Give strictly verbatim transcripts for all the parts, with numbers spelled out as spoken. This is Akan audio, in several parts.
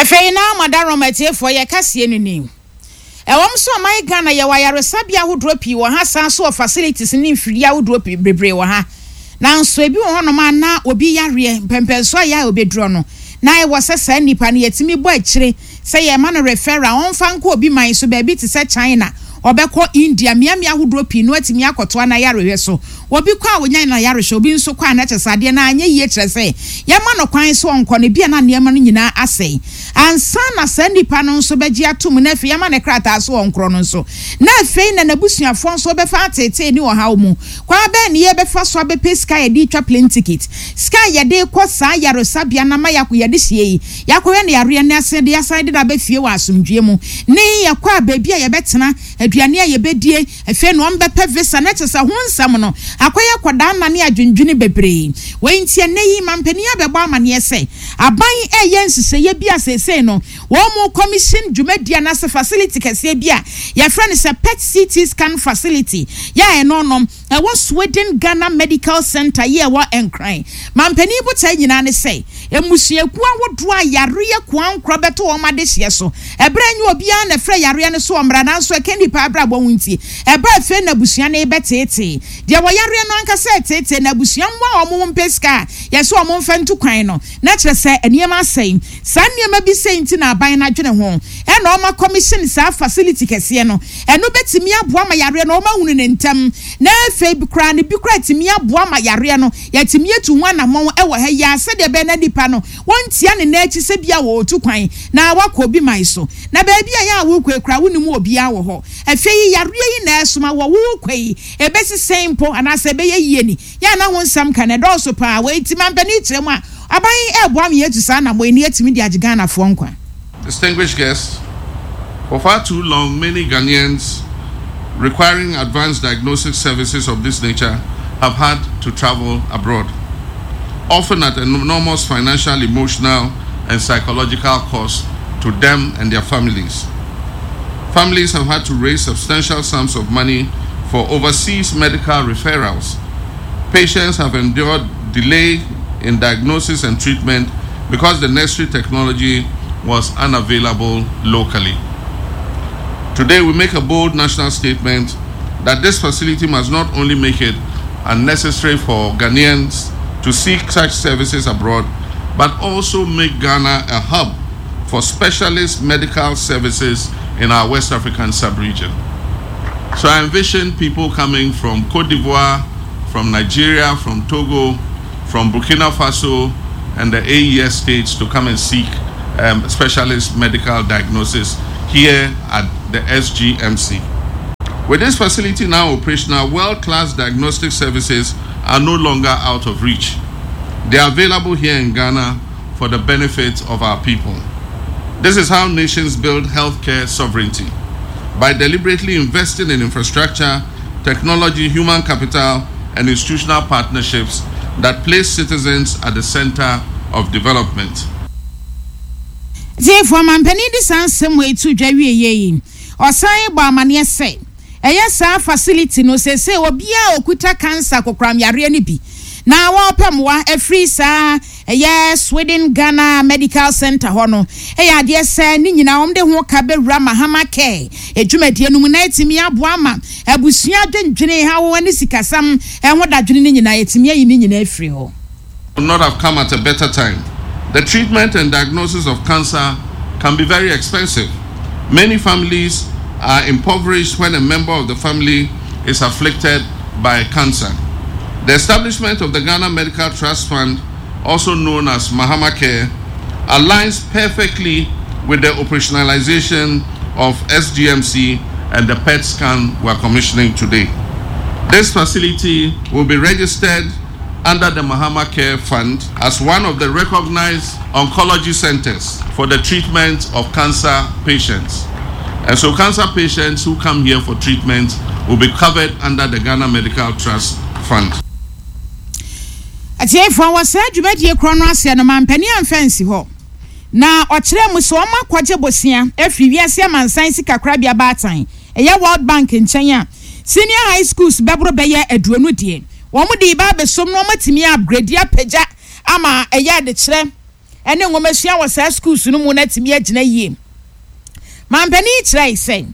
Afei na madarom atiefoɔ, yɛ kaseɛ no ni. Ɛwɔm so ɔman Ghana yɛwɔ ayaresabea ahodoɔ pii wɔ ha, san so wɔ facilities ne mfidie ahodoɔ pii bebree wɔ ha, nanso ebi wɔ hɔnom a na obi yareɛ mpɛmpɛnso a yɛ a obɛduro no na ɛwɔ sɛ saa nipa no yɛtumi bɔ akyire sɛ yɛma no referral, ɔmfa nkɔ obi man so baabi te sɛ China, ɔbɛkɔ India, mmeammea ahodoɔ pii no atumi akɔtoa na yarehwɛ so. Obi kɔ a wonya na yarehwɛ, obi nso kɔ a na kyerɛ sɛ adeɛ no anyɛ yie, kyerɛ sɛ yɛma no kwan so ɔnkɔ no bi a na nneɛma no nyinaa asɛe ansa na saa nipa no nso bɛgye atom, na afei yɛma ne krataa so ɔnkorɔ no nso, na afei na n'abusuafoɔ nso bɛfa atetee ne ɔhaw mu. Kwan bɛn ne yɛbɛfa so abɛpɛ sika yɛde twa plane ticket, sika a yɛde kɔ saa yaresabea na ma yɛakɔ yɛde hyia yi, yɛakɔhwɛ ne yareɛ ne ase de asan de na abɛfie wɔ asomdwie mu, ne yɛkɔ a baabi a yɛbɛtena, aduane a yɛbɛdie, afei na wɔn visa, na kyerɛ sɛ ho nsɛm no akɔyɛ kɔdaa nna ne adwendwene bebree. Wɔn nti ɛnɛ yi mampanin abɛbɔ amaneɛ sɛ aban ɛyɛ nhyehyɛeɛ bi a seesei no wɔn mo commission dwumadi anaasɛ facility kɛseɛ bi a yɛfrɛ no sɛ P E T C T scan facility yɛ a ɛno no ɛwɔ Sweden Ghana Medical Center yi ɛwɔ Nkran. Mampanin botae nyinaa ne sɛ mmusuakuo ahodoɔ a yareɛ koankorɔ bɛto wɔn adehyeɛ so, ɛberɛ nye obiara na ɛfrɛ yareɛ no so ɔmmra, nanso ɛka nipa abrabɔ ho nti ɛbɛ afei na abusua no bɛteetee deɛ wɔyareɛ no ankasa ɛteetee na abusua mmoa a wɔn mpɛ sika a yɛsɛ wɔn mfa ntu kwan no, na kyerɛ sɛ nneɛma asɛe. Saa nneɛma bi sɛ nti na aban no adwene ho ɛna ɔma commission saa facility kɛseɛ no. Ɛno bɛtumi aboa ma yareɛ no ɔma hunu ne ntɛm, na afei bi koraa ne bi koraa tumi aboa ma yareɛ no yɛtumi atu ho anammɔn ɛwɔ ha yi a, sɛdeɛ ɛbɛyɛ na nipa no wɔntia ne nan akyi sɛ bia wɔretu kwan na wakɔ obi man so, na baabi a yɛ a wokɔ ekura wonim obiara wɔ hɔ. Afei yi yareɛ yi na ɛsoma wɔ wokɔ yi ebesi sɛn mpo anaasɛ ɛbɛyɛ yie ni yɛ ana ho nsɛm ka na ɛdɔɔso paa. Wɔ eti mampanin kyerɛ mu a aban ɛɛboa mi yɛtu saa anammɔn yi ne yɛtumi de agye Ghanafoɔ nkwa. Distinguished guests, for far too long, many Ghanaians requiring advanced diagnostic services of this nature have had to travel abroad, often at enormous financial, emotional, and psychological cost to them and their families. Families have had to raise substantial sums of money for overseas medical referrals. Patients have endured delay in diagnosis and treatment because the necessary technology was unavailable locally. Today, we make a bold national statement that this facility must not only make it unnecessary for Ghanaians to seek such services abroad, but also make Ghana a hub for specialist medical services in our West African sub-region. So I envision people coming from Cote d'Ivoire, from Nigeria, from Togo, from Burkina Faso, and the A E S states to come and seek um, specialist medical diagnosis here at the S G M C. With this facility now operational, world-class diagnostic services are no longer out of reach. They are available here in Ghana for the benefit of our people. This is how nations build healthcare sovereignty: by deliberately investing in infrastructure, technology, human capital, and institutional partnerships that place citizens at the center of development. Tiefoɔ, mampanin de saa nsɛm wɔ etu dwa wie yie yi, ɔsan bɔ amaneɛ sɛ ɛyɛ saa facility no sese obiara okuta cancer kokoram yareɛ no bi na wɔrepɛ mmoa afiri saa ɛyɛ Sweden Ghana Medical Center hɔ no, ɛyɛ adeɛ sɛ ne nyinaa wɔn de ho ka bɛwura Mahama Care edwumadie no mu na etumi aboa ama abusua adwendwene ha wɔn ne sikasam ɛho dadwene ne nyinaa etumi ayi ne nyinaa afiri hɔ. Would not have come at a better time. The treatment and diagnosis of cancer can be very expensive. Many families are impoverished when a member of the family is afflicted by cancer. The establishment of the Ghana Medical Trust Fund, also known as Mahama Care, aligns perfectly with the operationalization of S G M C and the P E T scan we are commissioning today. This facility will be registered under the Mahama Care Fund as one of the recognized oncology centers for the treatment of cancer patients. And so cancer patients who come here for treatment will be covered under the Ghana Medical Trust Fund. Atiefoɔ, wɔ saa dwumadie korɔ no aseɛ no, mampanin amfa nsi hɔ na ɔkyerɛ mu sɛ ɔma akɔgye bosia afiri wiase amansan sikakorabea baatan ɛyɛ World Bank nkyɛn a senior high schools bɛboro bɛyɛ aduonu deɛ wɔn de ba abɛsom na wɔn atumi upgrade apagya ama ɛyɛ adekyerɛ. Ɛne nwomasua wɔ saa schools no mu no atumi agyina yie. Mampanin kyerɛ sɛ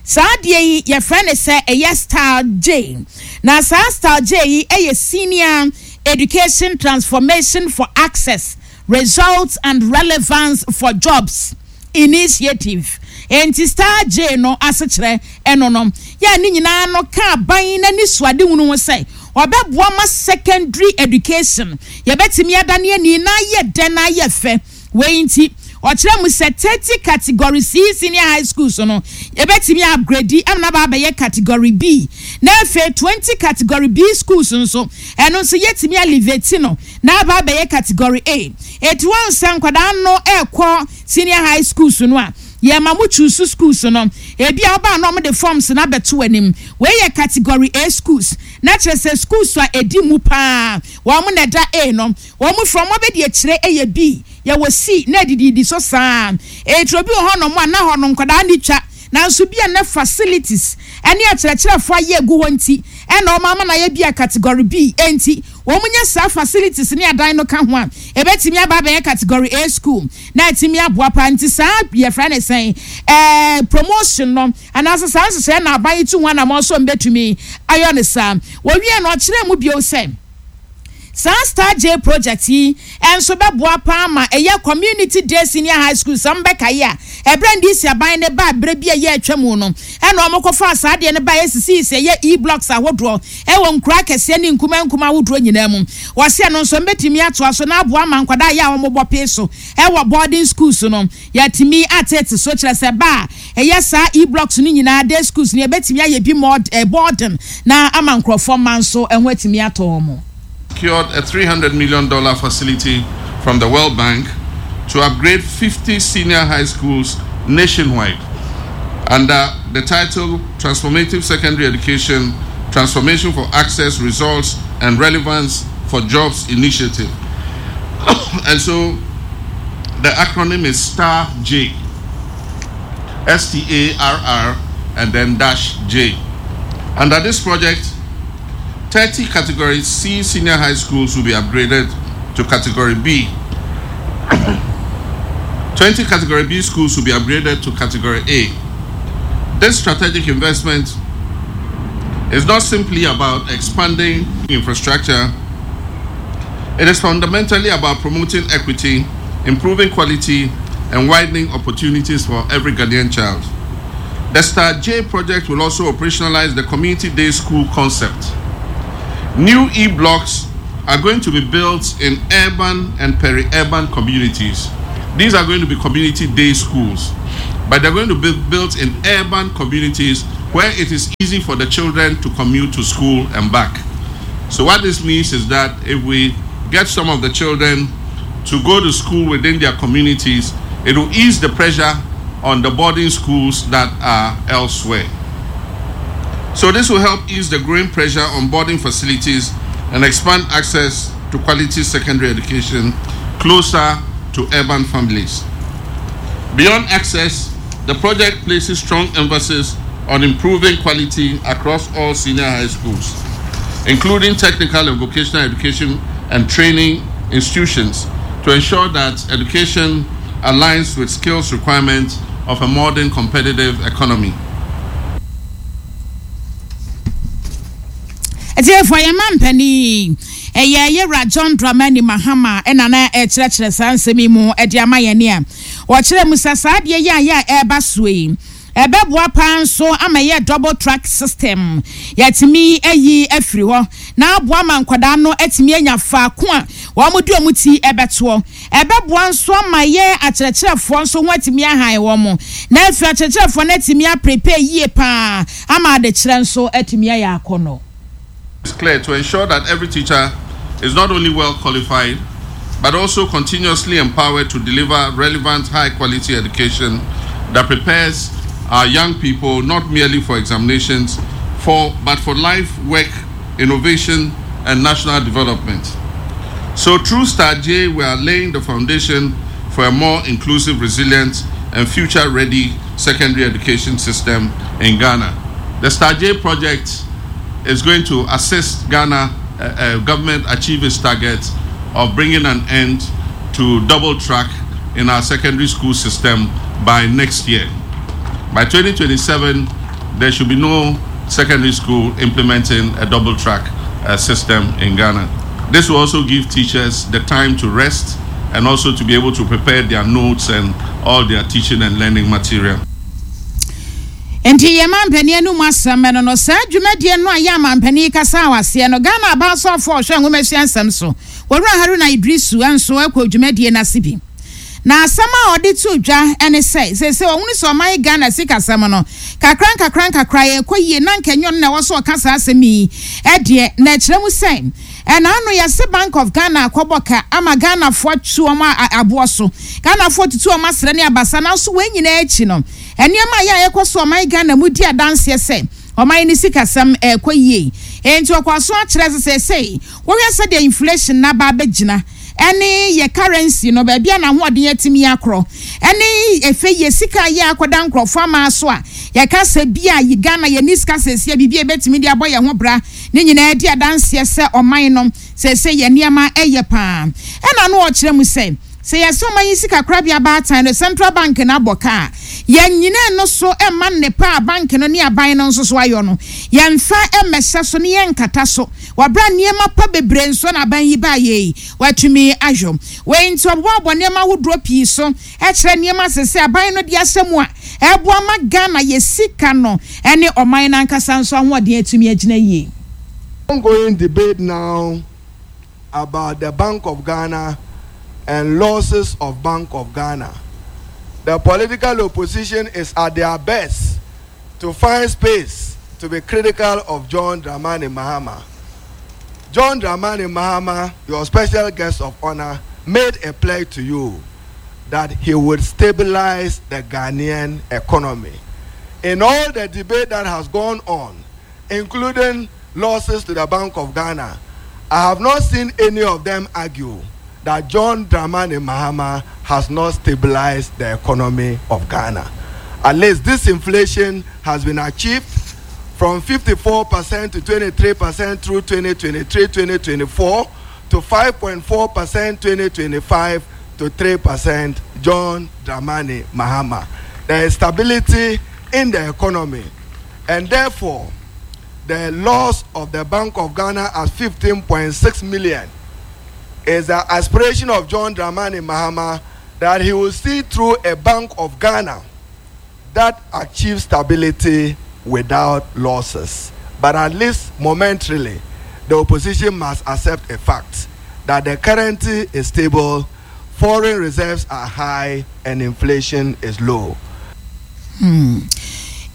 saa adeɛ yi, yɛfrɛ no sɛ ɛyɛ STAR J, na saa STAR J yi ɛyɛ Senior Education Transformation for Access, Results and Relevance for Jobs Initiative. Nti STAR J no asekyerɛ ɛno no yɛ ne nyinaa no ka aban n'ani suade hunu ho sɛ ɔbɛboa ma secondary education yɛbɛtumi adane ani na ayɛ dɛ na ayɛ fɛ. Wei nti ɔkyerɛ mu sɛ thirty category C senior high schools no, yɛbɛtumi upgrade amuna ba abɛyɛ category B, na afei twenty category B schools nso, ɛno nso yɛtumi elevate no na aba abɛyɛ category A. Etu wɔn nsa nkwadaa no ɛrekɔ senior high schools no a, yɛma mo choose schools no. Ebi a ɔbaa na ɔmo de forms na abɛto anim. Wei yɛ category A schools, na kyerɛ sɛ schools a edi mu paa wɔn na ɛda A no. Wɔn from wɔn abɛdi akyire ɛyɛ B, yɛwɔ C na edididi so saa. Eturo bi wɔ hɔnom a na hɔ no nkwadaa ni twa, nanso bi a na facilities ɛne akyerɛkyerɛfoɔ ayɛ egu hɔ nti ɛna wɔn ama na yɛ bi a category B. Enti wɔn nyɛ saa facilities ne adan no ka ho a, ebɛtumi aba abɛyɛ category A school na ɛtumi aboa pa. Nti saa yɛfrɛ ne sɛn, ɛɛ promotion no anaasɛ saa nhyehyɛ na aban yi tu ho anamɔ nso mbɛtumi ayɔ ne saa. Wɔwie no, ɔkyerɛ mu bio sɛ saa STAR J project yi nso bɛboa paa ma ɛyɛ community day senior high school. Sɛ mbɛka yi a, ɛberɛ N D C aban ne ba berɛ bi a ɛyɛ atwa mu no, ɛna wɔn kɔfa saa adeɛ no ba esisi sɛ ɛyɛ e-blocks ahodoɔ ɛwɔ nkura akɛseɛ ne nkuma nkuma ahodoɔ nyinaa mu. Wɔsi ɛno nso mbɛtumi atoa so na aboa ma nkwadaa yɛ a wɔn bɔ pee so ɛwɔ boarding schools no, yɛtumi atete so. Kyerɛ sɛ ba a ɛyɛ saa e-blocks no nyinaa, day schools no, yɛbɛtumi ayɛ bi more boarding na ama nkurɔfoɔ mma nso ɛho atumi atɔ wɔn. Secured a three hundred million dollars facility from the World Bank to upgrade fifty senior high schools nationwide under the title Transformative Secondary Education: Transformation for Access, Results, and Relevance for Jobs Initiative. And so the acronym is STAR J. S T A R R and then dash J. Under this project, thirty Category C senior high schools will be upgraded to Category B. twenty Category B schools will be upgraded to Category A. This strategic investment is not simply about expanding infrastructure. It is fundamentally about promoting equity, improving quality, and widening opportunities for every Ghanaian child. The STAR J project will also operationalize the community day school concept. New E blocks are going to be built in urban and peri-urban communities. These are going to be community day schools, but they're going to be built in urban communities where it is easy for the children to commute to school and back. So what this means is that if we get some of the children to go to school within their communities, it will ease the pressure on the boarding schools that are elsewhere. So this will help ease the growing pressure on boarding facilities and expand access to quality secondary education closer to urban families. Beyond access, the project places strong emphasis on improving quality across all senior high schools, including technical and vocational education and training institutions, to ensure that education aligns with skills requirements of a modern competitive economy. Ɛtiɛfo, yɛn ma mpanin ɛyɛ yɛwura John Dramani Mahama ɛna na ɛkyerɛkyerɛ saa nsɛm yi mu ɛde ama yɛn a wɔkyerɛ mu sɛ saa adeɛ yi a yɛ a ɛreba soɔ yi, ɛbɛboa paa nso ama yɛ double track system yɛtumi ayi afiri hɔ na aboa ma nkwadaa no atumi anya faako a wɔn de wɔn ti ɛbɛtoɔ. Ɛbɛboa nso ama yɛ akyerɛkyerɛfoɔ nso ho atumi ahan wɔn, na afei akyerɛkyerɛfoɔ no atumi aprepare yie paa ama adekyerɛ nso atumi ayɛ akɔnɔ. It's clear to ensure that every teacher is not only well qualified, but also continuously empowered to deliver relevant, high quality education that prepares our young people not merely for examinations, for, but for life, work, innovation, and national development. So, through STAR J, we are laying the foundation for a more inclusive, resilient, and future ready secondary education system in Ghana. The STAR J project is going to assist Ghana uh, uh, government achieve its target of bringing an end to double track in our secondary school system by next year. By twenty twenty-seven, there should be no secondary school implementing a double track uh, system in Ghana. This will also give teachers the time to rest and also to be able to prepare their notes and all their teaching and learning material. Nti yɛ mampanin anum asɛm no no saa dwumadie no a yɛ amampanin kasa a waseɛ no, Ghana abaasɔfoɔ ɔhwɛ nwomasua nsɛm so, Wɔwura Haruna Idrisu, nso akɔ dwumadie no ase bi, na asɛm a ɔde to dwa ne sɛ sese ɔhunu sɛ ɔman Ghana sikasɛm no kakra nkakra nkakra yɛkɔ yie, na nkɛnyɔ no na ɛwɔ so ɔka saa asɛm yi ɛdeɛ na ɛkyerɛ mu sɛ ɛna ano yɛse Bank of Ghana akɔbɔ ka ama Ghanafoɔ atu wɔn aboɔ so, Ghanafoɔ tutu wɔn asrɛ ne abasa. Nanso wɔn nyinaa akyi no, nneɛma a yɛ a yɛkɔ so ɔman Ghana mu di adanseɛ sɛ ɔman ne sikasɛm ɛkɔ yie. Nti ɔkɔ so akyerɛ sɛ sɛsɛi wɔhwɛ sɛdeɛ inflation naba abɛgyina, ɛne yɛ currency no baabi a n'ahoɔden atumi akorɔ, ɛne efe yɛ sika yɛ akɔda nkurɔfoɔ ama so a yɛka sɛ bi a yi Ghana yɛ ni sika sɛsia biribi a ebɛtumi de abɔ yɛn ho bra ne nyinaa di adanseɛ sɛ ɔman no sɛsɛ yɛ nneɛma ɛyɛ paa. Ɛna no ɔkyerɛ mu sɛ sɛ yɛsɛ ɔman yi sika korabea baatan no, central bank no, abɔ kaa yɛn nyinaa no so ɛma nnepa a bank no ne aban no nso so ayɔ no, yɛmfa ɛmmɛhyɛ so ne yɛnkata so wɔabra nneɛma pa bebree nso na aban yi baa yɛ yi watumi ahwɛ wei. Nti ɔboaboa nneɛma ahodoɔ pii so ɛkyerɛ nneɛma sese aban no de ahyɛ mu a ɛboa ma Ghana yɛ sika no ɛne ɔman no ankasa nso ahoɔden atumi agyina yie. Ongoing debate now about the Bank of Ghana and losses of Bank of Ghana. The political opposition is at their best to find space to be critical of John Dramani Mahama. John Dramani Mahama, your special guest of honor, made a pledge to you that he would stabilize the Ghanaian economy. In all the debate that has gone on, including losses to the Bank of Ghana, I have not seen any of them argue that John Dramani Mahama has not stabilized the economy of Ghana. At least this inflation has been achieved from fifty-four percent to twenty-three percent through twenty twenty-three twenty twenty-four to five point four percent twenty twenty-five to three percent. John Dramani Mahama. There is stability in the economy, and therefore the loss of the Bank of Ghana at fifteen point six million is the aspiration of John Dramani Mahama that he will see through a Bank of Ghana that achieves stability without losses. But at least momentarily, the opposition must accept a fact that the currency is stable, foreign reserves are high, and inflation is low. Hmm.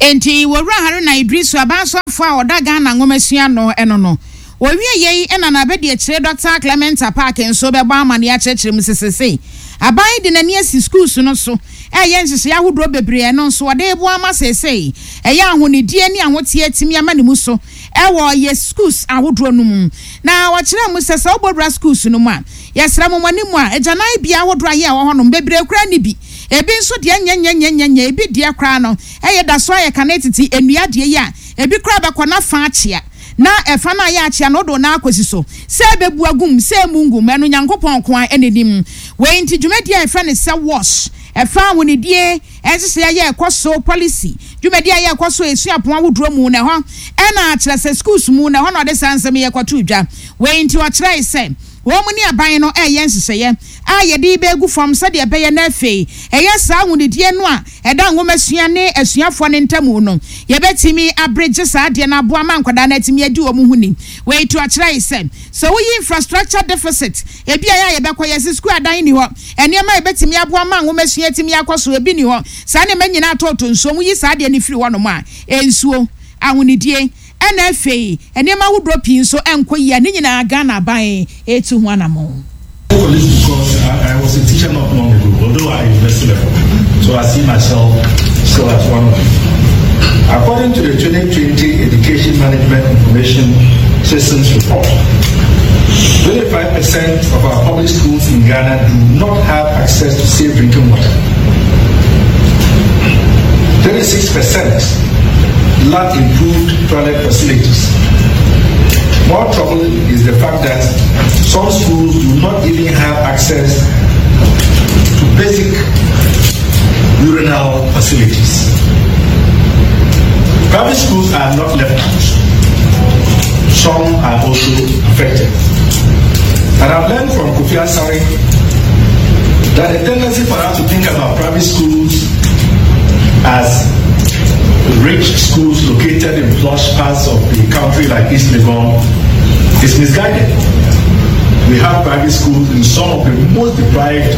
Enti Wɔwura Haruna Idrisu, abansɔfo a ɔda Ghana nwomasua no ɛno no, wɔwie yei ɛna n'abɛdi akyire Doctor Clement Apaak nso bɛbɔ amane akyerɛkyerɛ mu sesese aban de n'ani asi schools no so, ɛyɛ nhyehyɛ ahodoɔ bebree, ɛno nso wɔde ebo ama sesei ɛyɛ ahonidie ne ahoteɛ tumi ama ne mu so ɛwɔ yɛ schools ahodoɔ no mu. Na wɔkyerɛ mu sɛ sɛ wobɔwura schools no mu a, yɛsrɛ mo mo anim a agyanan bea ahodoɔ a yɛ ɛwɔ hɔnom bebree kura ne bi, ebi nso deɛ nyɛnyɛnyɛnyɛnyɛ, ebi deɛ koraa no ɛyɛ da so ayɛ kane tete nnua deɛ yi a ebi koraa bɛkɔ na fa akyea na ɛfa no ayɛ akyea na ɔdo na akɔsi so sɛ ɛbɛbu agum sɛ emu ngum, ɛno Nyankopɔn ko a ɛna nim. Wei nti dwumadie a yɛfrɛ no sɛ WASH, ɛfa ahonidie ɛnhyehyɛ yɛ ɛkɔ so policy dwumadie a yɛ ɛkɔ so esuapɔn ahodoɔ mu na ɛhɔ ɛna akyerɛ sɛ schools mu na ɛhɔ na ɔde saa nsɛm yɛ kɔto dwa. Wei nti ɔkyerɛ sɛ wɔn mu ne aban no ɛyɛ nhyehyɛeɛ a yɛde bɛgu fam sɛdeɛ ɛbɛyɛ no afei ɛyɛ saa ahonidie no a ɛda nwoma ne asuafoɔ no ntamu no, yɛbɛtumi aberegye saa adeɛ no aboa ma nkwadaa no atumi adi wɔn ho ni. Wei to akyerɛ yi sɛ sɛ woyi infrastructure deficit ebi a yɛ a yɛbɛkɔ yɛsi sukuu adan ni hɔ, nneɛma a yɛbɛtumi aboa ma nwoma sua atumi akɔ so ebi ni hɔ, saa nneɛma nyinaa atɔɔtɔ nsuo mu yi saa adeɛ no firi hɔnom a, nsuo, ahonidie, ɛna afei nneɛma ahodoɔ pii nso ɛnkɔ yie a ne nyinaa Ghana aban etu ho anammɔn. For this because I, I was a teacher not long ago, although I university level. So I see myself still as one of you. According to the twenty twenty Education Management Information Systems Report, twenty-five percent of our public schools in Ghana do not have access to safe drinking water. thirty-six percent lack improved toilet facilities. More troubling is the fact that some schools do not even have access to basic urinal facilities. Private schools are not left out. Some are also affected. And I've learned from Kofi Asare that the tendency for us to think about private schools as rich schools located in plush parts of the country like East Legon is misguided. We have private schools in some of the most deprived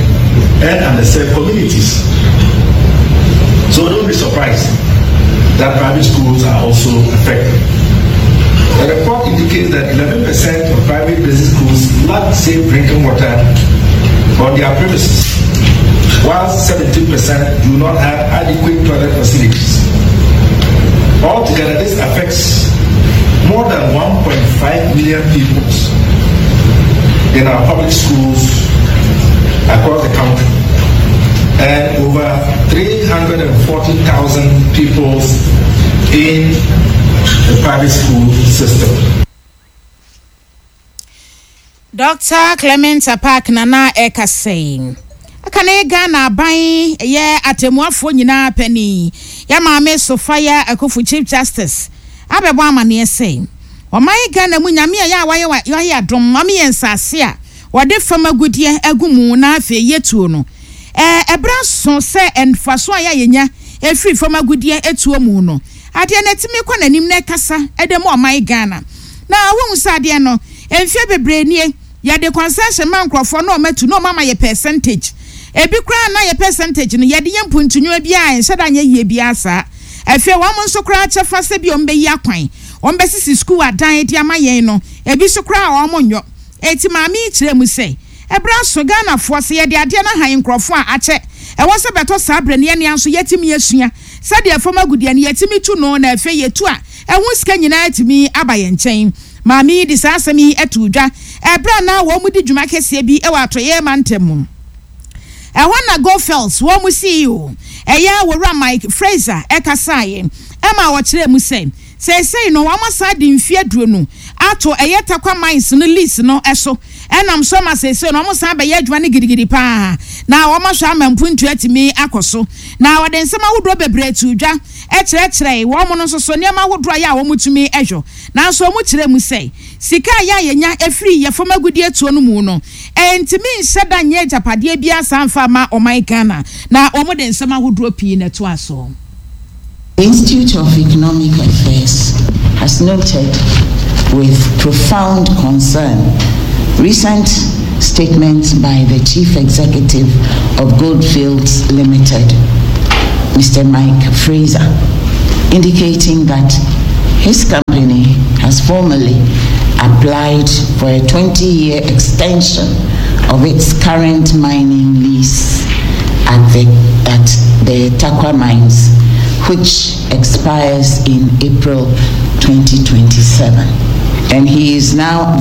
and underserved communities. So don't be surprised that private schools are also affected. The report indicates that eleven percent of private basic schools lack safe drinking water on their premises, while seventeen percent do not have adequate toilet facilities. Altogether, this affects more than one point five million pupils in our public schools across the country and over three hundred forty thousand pupils in the private school system. Doctor Clement Apaak nana ɛkasa yi aka ne Ghana aban yɛ atemmuafoɔ nyinaa panin, yɛ Maame Sophia Akuffo, Chief Justice, abɛbɔ amaneɛ sɛ ɔman Ghana mu Nyame a yɛ a wayɛ wayɛ adom mame yɛ nsase a wɔde fam agudeɛ agu mu na afei yɛtuo no, ɛɛ ɛberɛ so sɛ mfaso a yɛayɛnya efiri fam agudeɛ etuo mu no, adeɛ no atumi kɔ n'anim na ɛkasa ɛde mu ɔman Ghana. Na wɔn sɛ adeɛ no mfie bebree nie, yɛde concession ma nkurɔfoɔ na ɔmo atu na ɔmo ama yɛ percentage. Ebi koraa na yɛ percentage no yɛde yɛ mpuntunwa bi a nhyɛ da nyɛ yie bi asa. Afei wɔn nso koraa kyɛfa sɛ bi wɔn bɛyi akwan, wɔn bɛsisi sukuu adan de ama yɛn no, ebi nso koraa wɔn nyɔ. Eti maame yi kyerɛ mu sɛ ɛbrɛ so Ghanafoɔ sɛ yɛde adeɛ no ahan nkurɔfoɔ a akyɛ, ɛwɔ sɛ bɛtɔ saa berɛ no yɛnea nso yɛtumi asua sɛdeɛ fam agudeɛ no yɛtumi tu no, na afei yɛtu a ɛho sika nyinaa tumi aba yɛn nkyɛn. Maame yi de saa asɛm yi ato dwa ɛberɛ a na wɔn mu di dwuma kɛseɛ bi wɔ Atɔyɛ mantam mu. Ɛhɔ na Goldfields wɔn mu C E O, ɛyɛ Wɔwura Mike Fraser, ɛkasaeɛ ɛma wɔkyerɛ mu sɛ seesei no wɔn asa de mfeɛ aduonu ato ɛyɛ Tarkwa Mines no lease no ɛso, ɛnam so ma seesei no wɔn san bɛyɛ adwuma no gidigidi paa na wɔn ahwɛ ama mpuntu atumi akɔ so. Na wɔde nsɛm ahodoɔ bebree to dwa ɛkyerɛkyerɛ wɔn no nso so nneɛma ahodoɔ a yɛ a wɔn tumi ɛhwɛ, nanso wɔn kyerɛ mu sɛ sika a yɛ a yɛnya efiri yɛ fam agudie tuo no mu no, ɛntumi nhyɛ da nyɛ agyapadeɛ bi asa nfa ama ɔman Ghana. Na wɔn de nsɛm ahodoɔ pii na ɛto aso. The Institute of Economic Affairs has noted with profound concern recent statements by the Chief Executive of Goldfields Limited, Mister Mike Fraser, indicating that his company has formally applied for a twenty-year extension of its current mining lease at the, at the Tarkwa Mines, which expires in April twenty twenty-seven. And he is now